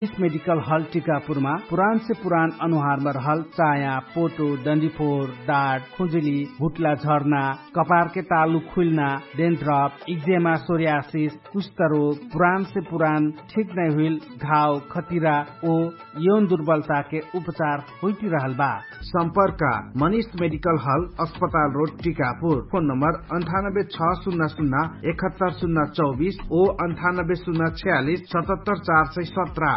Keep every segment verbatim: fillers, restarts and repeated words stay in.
इस मेडिकल हल टिकापुरमा पुरानसे पुरान अनुहारमा रहल चाया, पोटो, डन्डीफोर, डाट, खुजुली, भुट्ला झर्ना, कपारके तालु खुइल्ना, डेन्ड्रप, इक्जेमा, सोर्यासिस, कुष्ठरोग, पुरानसे पुरान ठिक नै हुइल घाव, खतिरा ओ यौन दुर्बलताके उपचार हुइटिरहल बा। सम्पर्क मनिष मेडिकल हल, अस्पताल रोड, टिकापुर। फोन नम्बर अन्ठानब्बे छ सुन्ना सुन्ना एकहत्तर सुन्ना चौबिस ओ अन्ठानब्बे सुन्ना छ्यालिस सतहत्तर चार सय सत्र।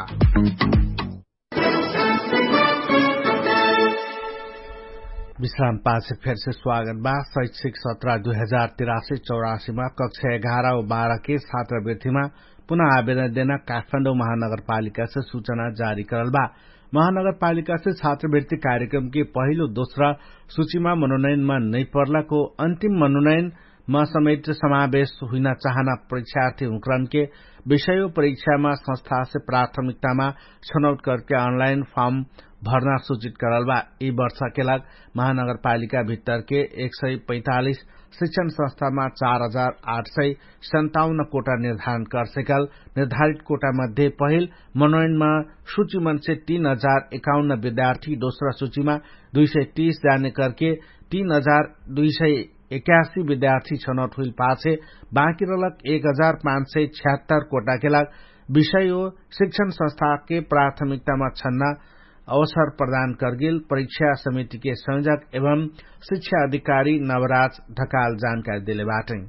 विश्राम पाछे फेरसे स्वागत बा। शैक्षिक सत्र दुई हजार तिरासी चौरासीमा कक्षा एघार वा बाह्रके छात्रवृत्तिमा पुनः आवेदन देना काठमाडौं महानगरपालिकासे सूचना जारी करल बा। महानगरपालिकासे छात्रवृत्ति कार्यक्रमके पहिलो दोस्रा सूचिमा मनोनयनमा नैपर्लाको अन्तिम मनोनयनमा समेट समावेश हुइना चाहना परीक्षार्थी हुँक्रनके विषयो परीक्षामा संस्थासे प्राथमिकतामा छनौट करके अनलाइन फर्म भर्ना सूचित करल बा। यी वर्षाके लाग महानगरपालिका भित्तरके एक सय पैतालिस शिक्षण संस्थामा चार हजार आठ सय सन्ताउन्न कोटा निर्धारण करसेकल। निर्धारित कोटा मध्ये पहिल मनोयनमा सूचिमनसे तीन हजार एकाउन्न विद्यार्थी, दोस्रा सूचिमा दुई सय तीस जाने करके तीन हजार दुई सय एकासी विद्यार्थी छनौट हुइल पाछे बाँकी रहलक एक हजार पाँच सय छ्यात्तर कोटाके लाग विषय ओ शिक्षण संस्थाके प्राथमिकतामा छन्ना अवसर प्रदान करगेल परीक्षा समितिके संयोजक एवं शिक्षा अधिकारी नवराज ढकाल जानकारी देले बाटै।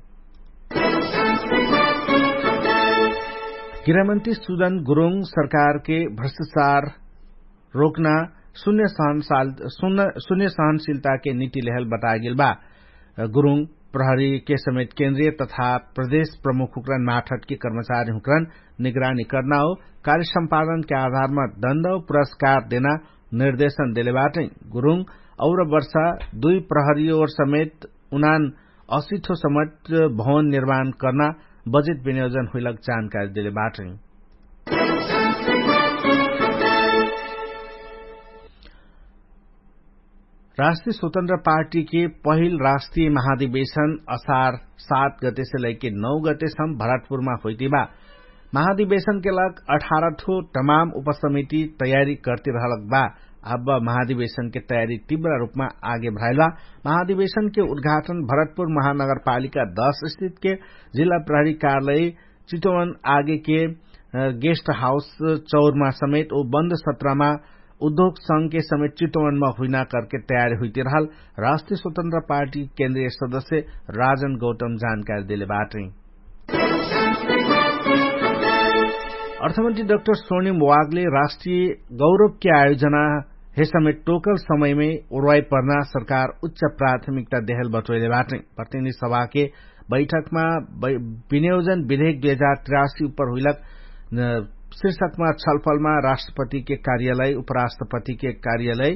गृहमन्त्री सुदन गुरुङ सरकारके भ्रष्टाचार रोक्ना शून्य सहनशीलताके निति लेहल बतागेल बा। गुरुङ प्रहरीके समेत केन्द्रीय तथा प्रदेश प्रमुख हुँक्रन माठटके कर्मचारी हुँक्रन निगरानी कर्ना हो कार्य सम्पादनके आधारमा दण्ड हो पुरस्कार देना निर्देशन देले बाटै। गुरुङ और वर्षा दुई प्रहरी और समेत उनान असिठो समेत भवन निर्माण कर्ना बजेट विनियोजन हुइलक जानकारी देले बाटै। राष्ट्रिय स्वतन्त्र पार्टीके पहिल राष्ट्रिय महाधिवेशन असार सात गतेसे लैके नौ गतेसम भरतपुरमा होइतिबा। महाधिवेशनके लाग अठारठो तमाम उपसमिति तयारी कर्तिरहलक बा। अब महाधिवेशनके तयारी तिव्र रुपमा आगे भ्राइल बा। महाधिवेशनके उद्घाटन भरतपुर महानगरपालिका दश स्थितके जिल्ला प्रहरी कार्यालय चितवन आगेके गेस्ट हाउस चौरमा समेत ओ बन्द सत्रमा उद्योग संघके समेत चितवनमा हुइना करके तयारी हुइतिरहल राष्ट्रिय स्वतन्त्र पार्टी केन्द्रीय सदस्य राजन गौतम जानकारी देले बाटै। अर्थमन्त्री डाक्टर स्वर्णिम वागले राष्ट्रिय गौरवके आयोजना हे समेत टोकल समयमे उर्वाई पर्ना सरकार उच्च प्राथमिकता देहल बटोइले बाटै। प्रतिनिधि सभाके बैठकमा विनियोजन विधेयक दुई हजार तिरासी उपर हुइलक शीर्षकमा छलफलमा राष्ट्रपतिके कार्यालय, उपराष्ट्रपतिके कार्यालय,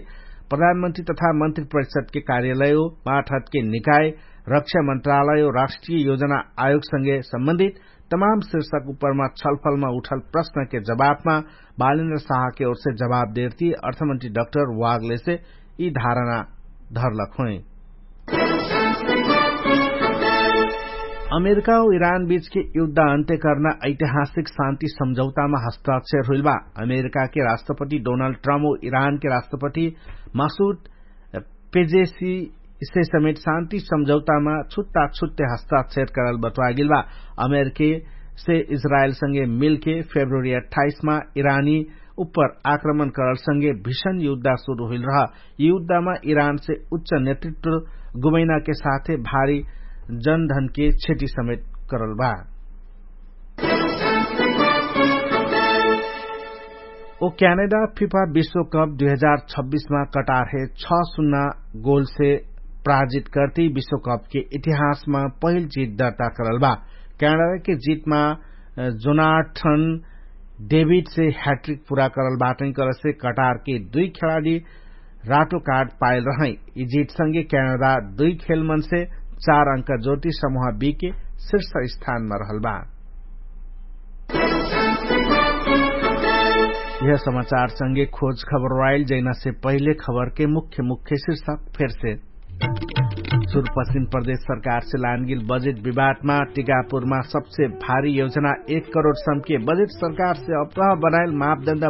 प्रधानमन्त्री तथा मन्त्री परिषदके कार्यालय हो माठहतके निकाय, रक्षा मन्त्रालय हो राष्ट्रिय योजना आयोगसँगे सम्बन्धित तमाम शीर्षक उपरमा छलफलमा उठल प्रश्नके जवाफमा बालेन्द्र साहके ओरसे जवाफ देर्ती अर्थमन्त्री डाक्टर वागलेसे यि धारणा धरलक होइ। अमेरिका हो इरान बीचके युद्ध अन्त्य कर्ना ऐतिहासिक शान्ति सम्झौतामा हस्ताक्षर हुइल बा। अमेरिकाके राष्ट्रपति डोनाल्ड ट्रम्प हो इरानके राष्ट्रपति मासुद पेजेसी से समेत शान्ति सम्झौतामा छुट्टा छुट्टे हस्ताक्षर करल बटवागेल बा। अमेरिके से इजरायलसँगे मिलके फेब्रुअरी अठाइसमा इरानी उप्पर आक्रमण करलसँगे भिषण युद्धा सुरु हुइल रह। युद्धमा इरानसे उच्च नेतृत्व गुमैनाके साथे भारी जनधनके क्षति समेत करल बा। ओ क्यानाडा फिफा विश्वकप दुई हजार छब्बिसमा कटारहे छ सुन्ना गोलसे प्राजित कर्ती विश्वकपके इतिहासमा पहिल जित दर्ता करल बा। क्यानाडाके जितमा जोनाठन डेभिडसे ह्याट्रिक पुरा करल बाटै करसे कटारके दुई खेलाडी रातो कार्ड पाइल रहै। यि जितसँगे क्यानाडा दुई खेलमनसे चार अंक जोटी समूह बीके शीर्ष स्थानमा रहल बा। यह समाचारसँगे खोज खबर वाइल जैनासे पहिले खबरके मुख्य मुख्य शीर्षक फेरसे। सुरपश्चिम प्रदेश सरकारसे लानगेल बजेट विवादमा टिकापुरमा सबसे भारी योजना एक करोड सम्के बजेट सरकारसे अप्राह बनाएल मापदण्ड।